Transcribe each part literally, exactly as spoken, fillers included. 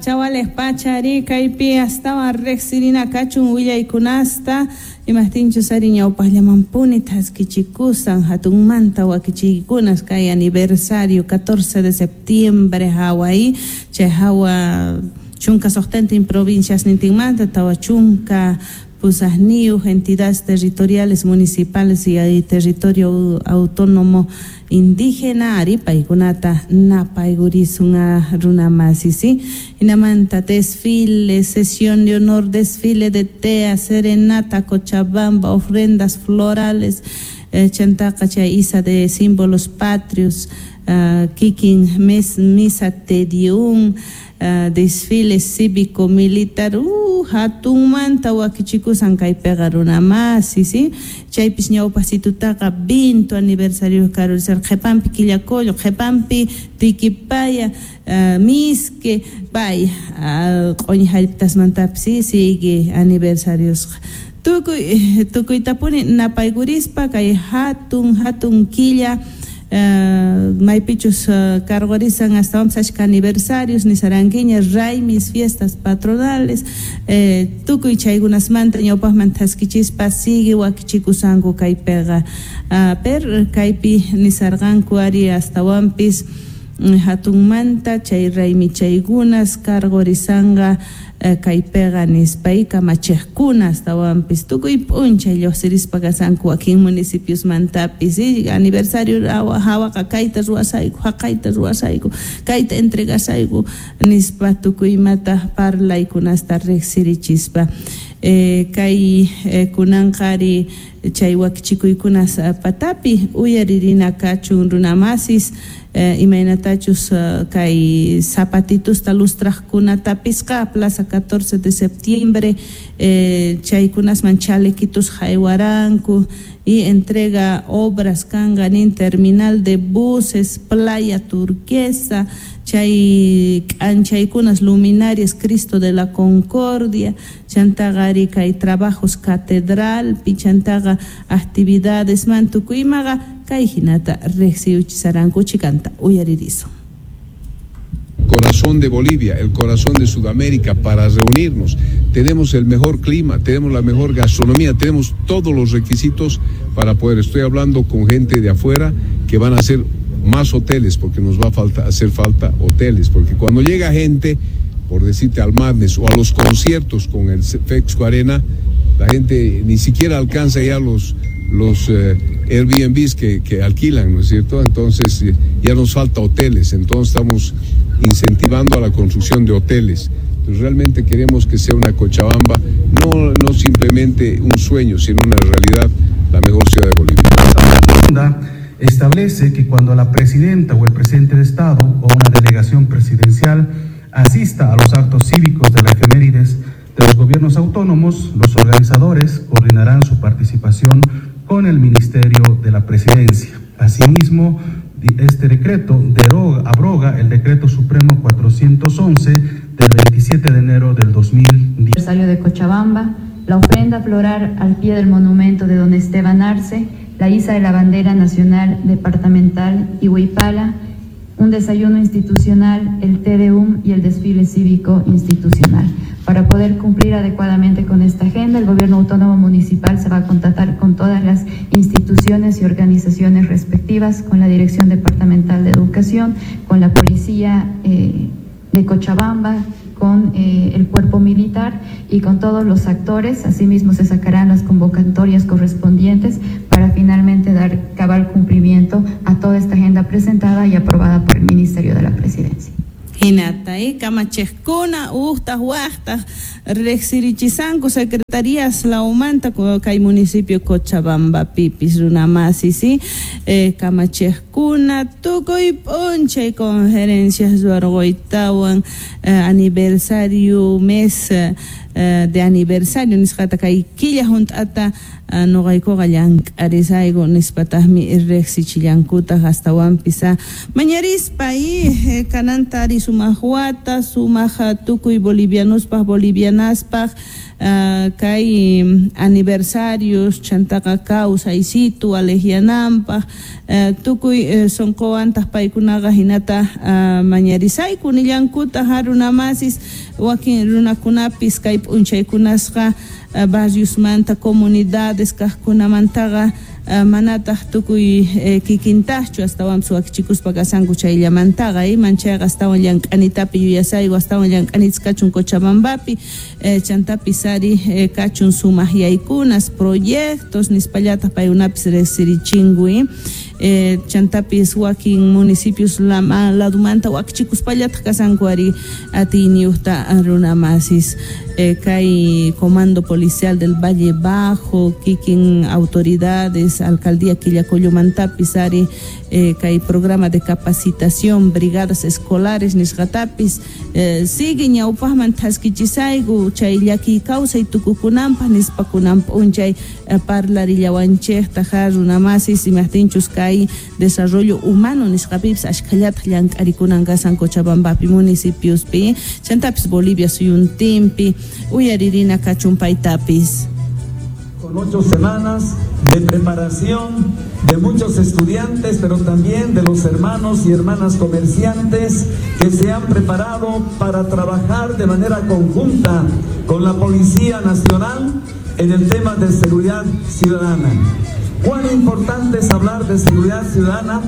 Chawalej pachari kaypi astawan riqsirina kachun willaykunasta imajtinchus ari ñawpaqllamanpuni thaskichikusan hatunmanta wakichiykunas kay aniversario catorce de septiembre hawa chay hawa chunka suqtantin provincias nintinmanta tawa chunka pusaqniyuq entidades territoriales municipales y territorio autónomo indígena ari paykunata napaygurisun runamasi, ¿sí? Hinamanta desfile, sesión de honor, desfile de tea, serenata, Cochabamba, ofrendas florales, eh, chantaqa chay isa de símbolos patrios, uh, kikin mes, misa tedium, Uh, desfile cívico militar, uh, hatunmanta wakichikusan kaypiqa runamasi, ¿sí? Chaypis ñawpasitutaqa veinte aniversario karurisar qhipanpi Quillacollo, qhipanpi Tiquipaya, uh, Misque, pay uh, q'uñi hallp'tasmantapis, ¿sí? Sigue aniversariosqa. Tukuy tukuytapuni napaykurispa kay hatun hatun killa Uh, maypichus uh, cargorisan astawanpis achka aniversarios nisarankiña raymis fiestas patronales eh, tukuy chaykunasmanta ñawpaqman thaskichispa sigue wakichikusanku kaypiqa uh, per kaypi nisarqanku ari astawanpis hatunmanta chay raymi chaykunas cargorisanqa kaypiqa nispa y kamachiqkuna astawanpis tukuy p'unchay lluqsirispa kasanku wakin municipiosmantapis, ¿sí? Aniversario hawaqa kayta ruwasayku haqayta ruwasayku kayta entregasayku nispa tukuy imata parlaykunasta riqsirichispa eh, kay eh, kunanqa ari chay wakichikuykunas patapi uyaririna kachun runamasis Eh, imaynatachus uh, kay zapatitusta lustraqkunatapisqa plaza catorce de septiembre eh, chaykunasman chalequitos haywaranku y entrega obras kanqa nin terminal de buses, playa turquesa, chay k'anchaykunas luminarias Cristo de la Concordia, chantaqa ari kay trabajos catedralpi, chantaqa actividades man tukuymaqa kay hinata riqsiyuchisaranku chikanta uyaririsun. Corazón de Bolivia, el corazón de Sudamérica, para reunirnos. Tenemos el mejor clima, tenemos la mejor gastronomía, tenemos todos los requisitos para poder. Estoy hablando con gente de afuera que van a hacer más hoteles, porque nos va a falta, hacer falta hoteles, porque cuando llega gente, por decirte, al Madness o a los conciertos con el Fexco Arena, la gente ni siquiera alcanza ya los, los eh, Airbnbs que, que alquilan, ¿no es cierto? Entonces eh, ya nos falta hoteles, entonces estamos incentivando a la construcción de hoteles. Entonces, realmente queremos que sea una Cochabamba, no, no simplemente un sueño, sino una realidad, la mejor ciudad de Bolivia. Establece que cuando la presidenta o el presidente de Estado o una delegación presidencial asista a los actos cívicos de la efemérides de los gobiernos autónomos, los organizadores coordinarán su participación con el Ministerio de la Presidencia. Asimismo, este decreto deroga, abroga el Decreto Supremo cuatrocientos once del veintisiete de enero del dos mil diez. Aniversario de Cochabamba, la ofrenda floral al pie del monumento de don Esteban Arce, la iza de la bandera nacional departamental y Huipala, un desayuno institucional, el Te Deum y el desfile cívico institucional. Para poder cumplir adecuadamente con esta agenda, el Gobierno Autónomo Municipal se va a contactar con todas las instituciones y organizaciones respectivas, con la Dirección Departamental de Educación, con la Policía eh, de Cochabamba, con eh, el cuerpo militar y con todos los actores. Asimismo, se sacarán las convocatorias correspondientes para finalmente dar cabal cumplimiento a toda esta agenda presentada y aprobada por el Ministerio de la Presidencia. Hinata, eh, kamachiqkuna, uqtaq, waqtaq, riqsirichisanku secretarías laumanta kay municipio Cochabamba pipis runamasi, ¿sí? Eh, kamachiqkuna, tukuy p'unchay conferencias ruwarquytawan, eh, aniversario mes eh, de aniversario nisqata kay killa hunt'ata uh, nuqaykuqa llank'arisayku nispataqmi riqsichillankutaq astawanpis mañarispa y eh, kananta ari sumaq wata, sumaq tukuy bolivianospaj, bolivianaspaj, uh, kay aniversarios chantaqa kawsaysitu alejianampaj, uh, tukuy uh, sonqowantaq paykunaqa hinata uh, mañarisayku nillankutaq runamasis wakin runakunapis kay p'unchaykunasqa uh, barriosmanta comunidades kaqkunamantaqa uh, manataq tukuy eh, kikintajchu astawanpis wakichikuspa kasanku chayllamantaqa iman chayqa astawan llank'anitapi yuyasayku astawan llank'anitas kachun Cochabambapi eh, chantapis ari eh, kachun sumaq yaykunas proyectos nispallataq paykunapis riqsirichinku eh, chantapis wakin municipios lama ladumanta wakichikuspallataq kasanku ari atiyniyuqta runamasis eh, kay Comando Policial del Valle Bajo kikin autoridades alcaldía Quillacollomantapis ari eh, kay programa de capacitación brigadas escolares nisqatapis eh, sigue ñawpaqman thaskichisayku chay llakiy kawsay tukukunanpaq nispakunan p'unchay eh, parlarillawanchikta ja runamasis imaqtinchus kay desarrollo humano nisqapipis ashkhallataq llank'arikunan kasan Cochabambapi municipiospi chantapis Bolivia suyuntinpi uyaririna kachun paytapis. Con ocho semanas de preparación de muchos estudiantes, pero también de los hermanos y hermanas comerciantes que se han preparado para trabajar de manera conjunta con la Policía Nacional en el tema de seguridad ciudadana. Cuán importante es hablar de seguridad ciudadana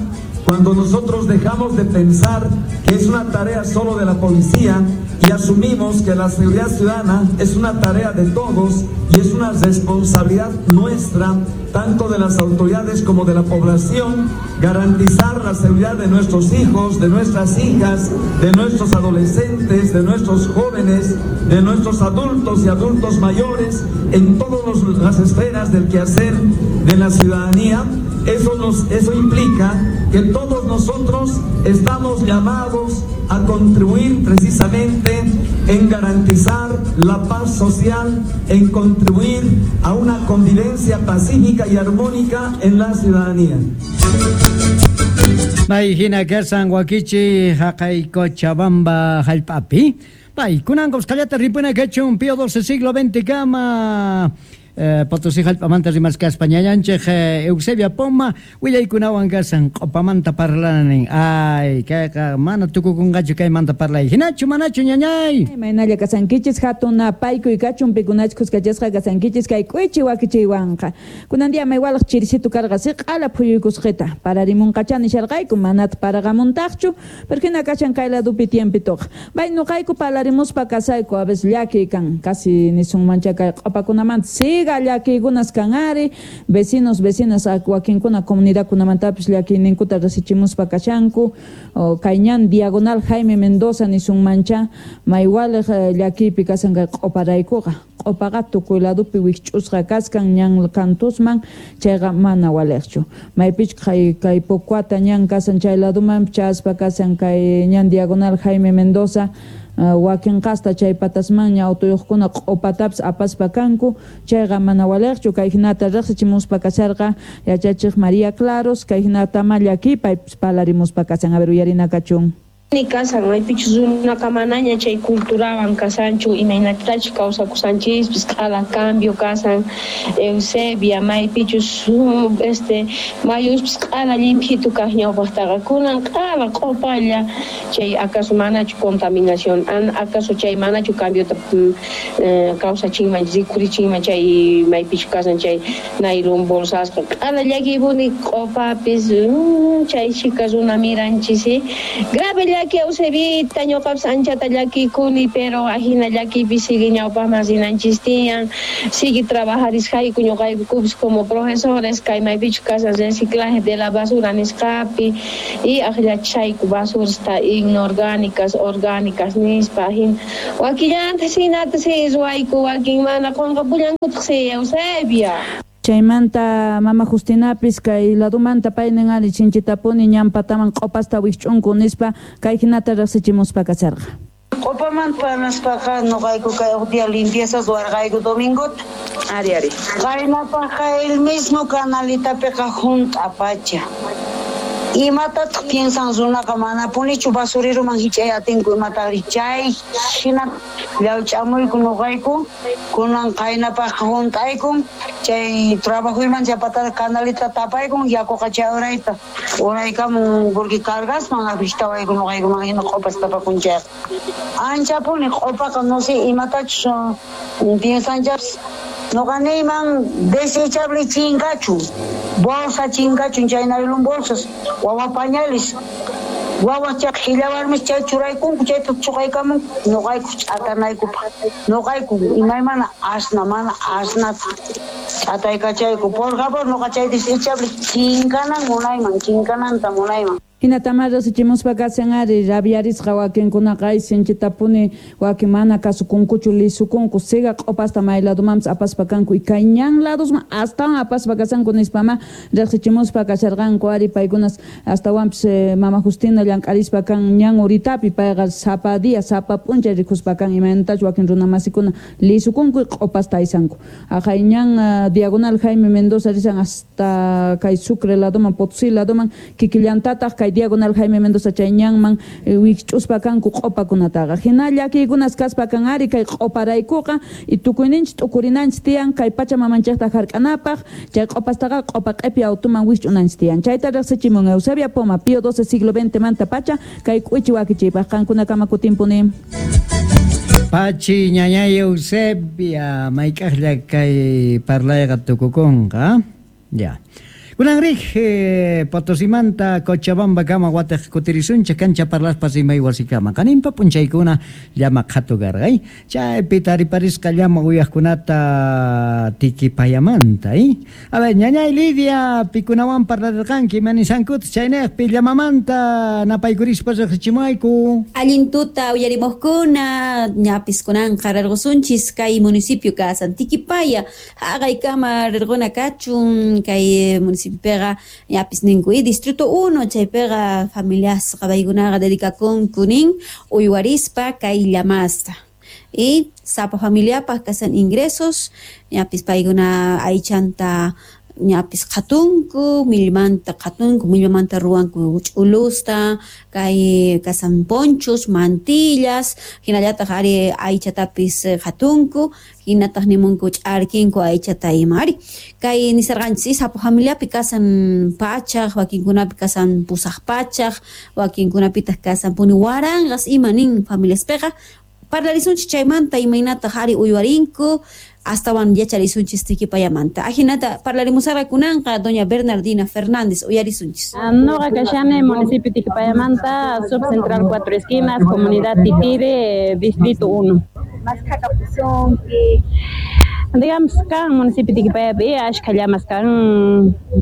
cuando nosotros dejamos de pensar que es una tarea solo de la policía y asumimos que la seguridad ciudadana es una tarea de todos y es una responsabilidad nuestra, tanto de las autoridades como de la población, garantizar la seguridad de nuestros hijos, de nuestras hijas, de nuestros adolescentes, de nuestros jóvenes, de nuestros adultos y adultos mayores, en todas las esferas del quehacer de la ciudadanía. Eso, nos, eso implica que todos nosotros estamos llamados a contribuir precisamente en garantizar la paz social, en contribuir a una convivencia pacífica y armónica en la ciudadanía. Bay hina kasan wakichi haqay Cochabamba hallp'api. Bay kunan qusqallata ripuna kachun Pío doce siglo veinte kama. Eh, Potosí hallp'amanta rimaskaspa ñañanchik eh, Eusebia Poma willaykunawan kasan q'upamanta parlanin. Ay, kayqa mana tukukunqachu kaymanta parlay. Hinachu manachu ñañay. Imaynalla kasankichis hatun napaykuy kachun pikunachik kuskachasqa kasankichis kay k'uichi wakichiywanqa. Kunan día maywalaq chirisitu karqa siq'ala phuyuykusqita. Pararimunqacha nisharqayku manata paraqamuntaqchu, pero hina kashan kay ladupi tiempitoqa. Bay nuqayku parlarimuspa kasayku a veces llakiy kan, casi nisunmancha kay q'upakunamanta siga llakiykunas kan ari, vecinos, vecinas wakinkuna comunidadkunamantapis llakiyninkuta rasichimuspa kashanku, kay ñan diagonal Jaime Mendoza nisunmancha maywaliq llakiypi kasan kay q'uparaykuqa. Q'upaqa tukuy ladupi wikch'usqa kaskan ñan kantusman, chayqa mana waliqchu. Maypich kay kay Pocuata ñan kasan chay laduman chaspa kasan kay ñan diagonal Jaime Mendoza, Uh, wakin qasta chay patasmanña autoyuqkuna q'upatapis apaspa kanku, chayqa mana waliqchu. Kay hinata riqsichimuspa kasharqa yachachiq María Claros, kay hinata ma llakipaypis parlarimuspa kasan. A ver, uyarina kachun. Ni kasan maypichus runaqa manaña chay culturawan kasanchu imaynatachus kawsakusanchispis q'ala cambio kasan Eusebia maypichus este mayuspis q'ala llimphitu kaq ñawpaqtaqa kunan q'ala q'upalla chay acaso manachu contaminación an acaso chay manachu cambiota eh, kawsachinman rikurichinman chay maypichus kasan chay nailon bolsasqa q'ala llakiypuni q'upapis mm, chay chika runa miranchis grave llaki Eusebita ñuqapis anchata llakikuni pero ajina llakiypi sigue ñawpaqman rinanchis tiyan sigue trabajarisqayku ñuqaykupis como profesores kay maypichus kasan reciclaje de la basura nisqapi y aqllachayku basurasta inorgánicas orgánicas nispa ajina wakillanta sinata si ruwayku wakin mana qunqapullankutaq si Eusebia. Chaymanta mama Justinapis kay ladumanta paynin ari chinchitapuni ñanpataman q'upasta wikch'unku nispa kay hinata riqsichimuspa kasharqa. Q'upamanta parlaspaqa nuqayku kay huk día limpieza ruwarqayku domingota. Ari ari. Qaynapaqqa el mismo canalitapiqa hunt'a pacha. Imatataq piensan runaqa manapunichu basureroman hich'ay atinku imataqri chay hina llawch'amuyku nuqayku kunan qaynapaqqa hunt'aykun chay trabajoyman chapatata canalita tapaykun yakuqa chay urayta uraykamun porque cargasman afectawayku nuqaykuman hina q'upas tapakun chayqa anchapuni q'upaqa no sé imatachus piensanchapis nuqa niyman desechable chinkachun bolsa chinkachun chay naylon bolsas wawa pañales wawa chay qhillawarmis chay churaykunku chayta chuqaykamun nuqayku ch'atanaykupaq nuqayku imaymana asna mana asnata ch'ataykachayku por favor nuqa chay desechable chinkanan munayman chinkananta munayman. Hinatama riqsichimuspa kasan ari rabiarisqa wakinkunaqa ay sinchitapuni wakin mana kasukunkuchu lisukunku siga q'upasta may ladomanpis apaspa kanku y kay ñan ladosman astawan apaspa kasanku nispama riqsichimuspa kasharqanku ari paykunas astawanpis eh, mama Justina llank'arispa kan ñan uritapi payqa sapa día sapa p'unchay rikuspa kan imaynatachu wakin runamasikuna lisukunku y q'upasta aysanku aqhay ñan uh, diagonal Jaime Mendoza risan hasta kay Sucre ladoman Potosí ladoman kikillantataq kay diagonal Jaime Mendoza chay ñanman wikch'uspa kanku q'upakunataqa hina llakiykunas kaspa kan ari kay q'uparaykuqa y tukuyninchik t'ukurinanchik tiyan kay pacha mamanchikta hark'anapaq chay q'upastaqa q'upa q'ipi autuman wikch'unanchik tiyan chayta riqsichimun Eusebia Poma Pío doce siglo veinte manta pacha kay k'uichi wakichiypaq qankunakama kutinpuni. Pachi ñañay Eusebia mayk'aqlla kay parlayqa tukukunqa ya. Kunan rij eh, Potosimanta Cochabamba kama wataq kutirisunchik kancha parlaspa rimay wasikama qaninpa p'unchaykuna llama qhatu karqay chaypi tariparisqa llama uyaqkunata Tiquipayamanta eh? A ver ñañay Lidia pikunawan parlarirqanki imanisankuta chaynejpi llamamanta napaykurispa riqsichimayku. Allin tuta uyarimuqkuna ñapis kunanqa rirqusunchis kay municipio kasan Tiquipaya haqaykama rirquna kachun kay municipio pega ñapis ninku y distrito uno chaypiqa familiasqa paykunaqa dedicakunku nin uywarispa kay llamasta y sapa familiapaq kasan ingresos ñapis paykuna aychanta ñapis qhatunku millmanta qhatunku millmanta ruwanku ch'ulusta kay kasan ponchos mantillas hinallataq ari aychatapis qhatunku hinataq nimunku ch'arkinku aychata ima ari kay nisarqanchis sapa familiapi kasan pachaq wakinkunapi kasan pusaq pachaq wakinkunapitaq kasan puni waranqas ima nin familiaspiqa parlarisunchis chaymanta imaynataq ari uywarinku astawan yacharisunchis Tiquipayamanta. Ajinata parlarimusarqa kunanqa doña Bernardina Fernández uyarisunchis. Noqa kashani municipio Tiquipayamanta, subcentral Cuatro Esquinas, comunidad Titire, distrito uno. Digamos, kan municipio Tiquipayapi ashka llamas kan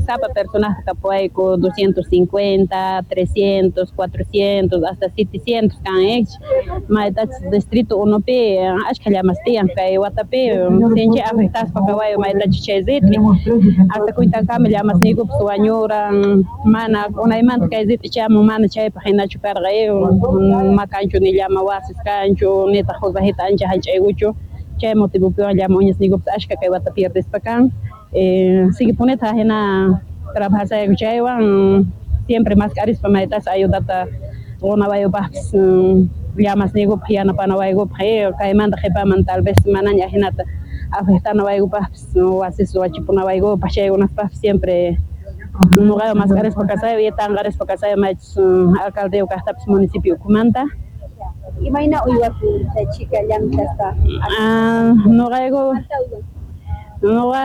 sapa personaje kapuayku doscientos cincuenta, trescientos, cuatrocientos, hasta setecientos kan ex maytachis distrito uno pi ashka llamas tiyan kay watapi sinchi afectaspa kawayu maytachis chay rit'i hasta kuytankama llamas niykupas wañuran mana unaymanta kay rit'i chamun mana chaypaq hinachu karqa makanchu ni llama wasis kanchu nitaq hurrajita ancha hallch'aykuchu chay motivopiwan llama uñas niykupas ashka kay wata pierdespa kan eh, sigue puneta hina trabajasayku chaywan siempre mask'arispa maytas ayudata qunawayupaqpis llamas niykupaq yanapanawaykupaq eh, kaymanta qhipaman tal vez manaña hinata afectanawaykupaqpis wasis wachipunawaykupaq chaykunapaqpis siempre nuqaqa mask'arispa kasayu y tanqarispa kasayu maychus alcaldeyuq kaqtapis municipio ukhumanta. Imayna uywakun chay chika llamk'aspa? Ah, nuqayku nuqa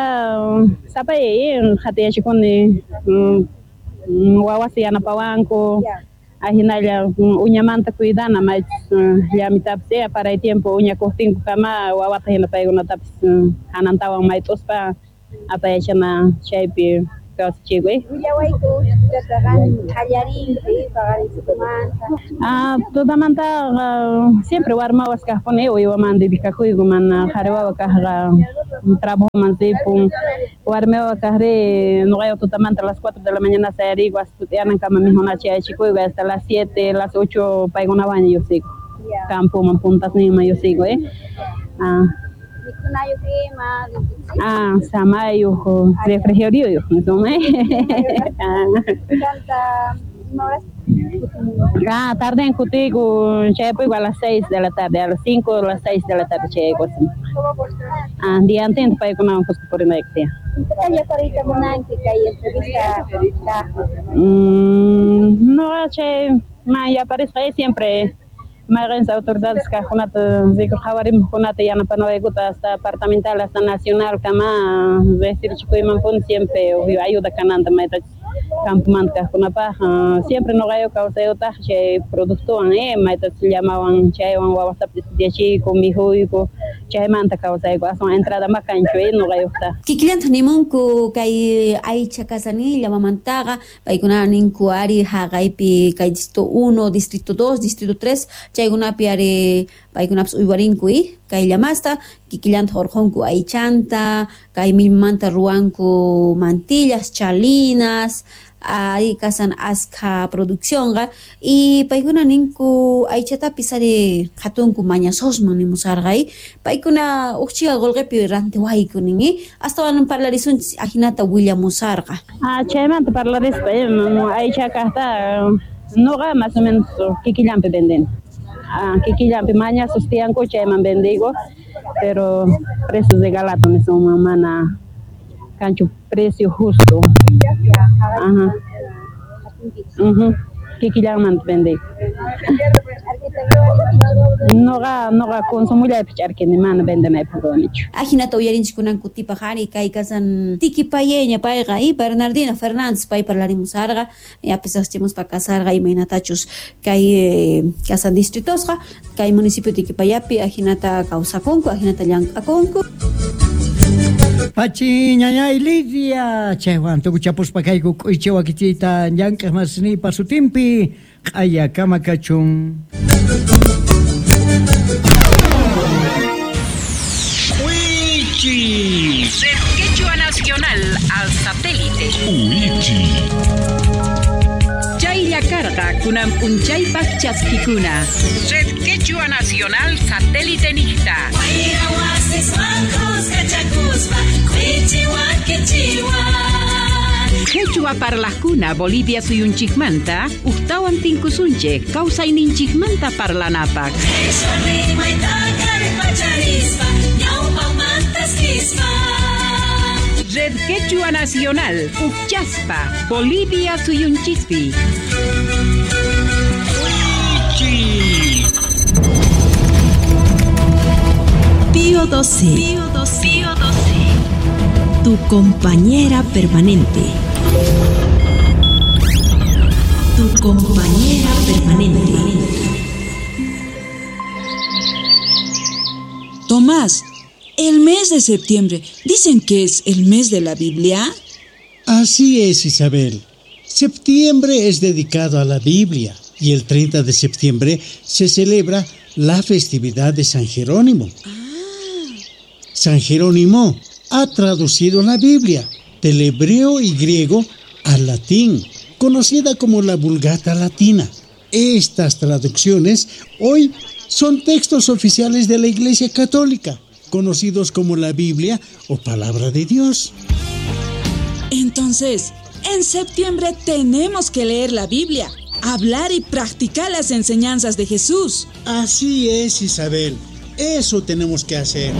sapay qhatiyachikuni wawasi yanapawanku ahinalla uñamanta cuidana maychus llamitapis paray tiempo uñakuqtinku kama wawata hina paykunatapis hanantawan mayt'uspa apayachana chaypi kawsachikuy. Willawayku tutaqa qallarinki paqarinchikumanta. Ah, tutamantaqa siempre warmawas kaqpuni uywaman dedicakuyku mana qhari wawa kaqqa trabajoman ripun warmi wawa kaqri nuqayqa tutamanta a las cuatro de la mañana sayariku hasta tut'iyanankama mijunachi yachikuyku hasta las siete, las ocho paykunawan lluqsiyku campoman puntasninman lluqsiyku eh. Ah. Mikhunayuq ima Ah, samayuq, refrigerioyuq niswan. Chanta Ah, tarde en kutiyku, chayapuyku a las seis de la tarde, a las cinco o las seis de la tarde chayayku. Ah, diantinta paykunawan kuska purinayku tiyan. Mm, no, chay ma yaparisqa siempre mayqinchis autoridades kaqkunata rikurqawarimuqkunata yanapanawaykuta hasta departamental hasta nacional kama riqsirichikuymanpuni siempre ayuda kananta maytachus campomanta kaqkunapaq siempre nuqayu kawsayutaq chay productowan eh maytachus llamawan chaywan wawastapis estudiachiyku mikhuyku chaymanta kawsayku aswan entrada ma kanchu eh nuqayuqta. Kikillantaq nimunku kay aycha kasani llamamantaqa paykuna ninku ari haqaypi kay distrito uno, distrito dos, distrito tres chaykunapi ari paykunapas uywarinku eh kay llamasta kikillantaq urqunku aychanta kay millmanta ruwanku mantillas, chalinas ari kasan askha produccionqa y paykuna ninku aychatapis ari qhatunku mañasosman nimusarqa paykuna uqchiqa qullqipi rantiwayku nin astawan parlarisunchis ajinata willamusarqa. Ah, chaymanta parlarispa aycha kaqta nuqa más o menos kikillanpi vendeni. Ah, kikillanpi mañasos tiyanku chayman vendigo, pero precios de galato nisunman mana kanchu precio justo. Ajá. Uh-huh. Kikillanmanta vendigo. Noqa noqa consumullaypi ch'arkini mana vendenaypaq ruwanichu. Ajinata uyarinchik kunan kutipaq ari kay kasan Tiquipayeña payqa y Bernardina Fernández pay parlarimusarqa yapis riqchimuspa kasarqa imaynatachus kay kasan distritosqa kay municipio Tiquipayapi ajinata kawsakunku ajinata llank'akunku. Pachi ñañay Lidia chaywan tukuchapuspa kayku k'uychi wakichiyta llank'aq masinipa sutinpi q'aya kama kachun. Wichi. Red Quechua Nacional al satélite. Wichi. Chaylla karqa kunan p'unchaypaq chaskikuna. Red Quechua Nacional satélite niqta. Quechua parlajkuna Bolivia suyunchikmanta uqtawan tinkusunchik kawsayninchikmanta parlanapaq. Red Quechua Nacional Uchaspa Bolivia suyunchispi. Pío doce. Pío doce. Pío doce. Tu compañera permanente. Tu compañera permanente. Tomás, el mes de septiembre, ¿dicen que es el mes de la Biblia? Así es, Isabel. Septiembre es dedicado a la Biblia y el treinta de septiembre se celebra la festividad de San Jerónimo. Ah. San Jerónimo ha traducido la Biblia del hebreo y griego al latín, conocida como la Vulgata Latina. Estas traducciones hoy son textos oficiales de la Iglesia Católica, conocidos como la Biblia o Palabra de Dios. Entonces, en septiembre tenemos que leer la Biblia, hablar y practicar las enseñanzas de Jesús. Así es, Isabel. Eso tenemos que hacer.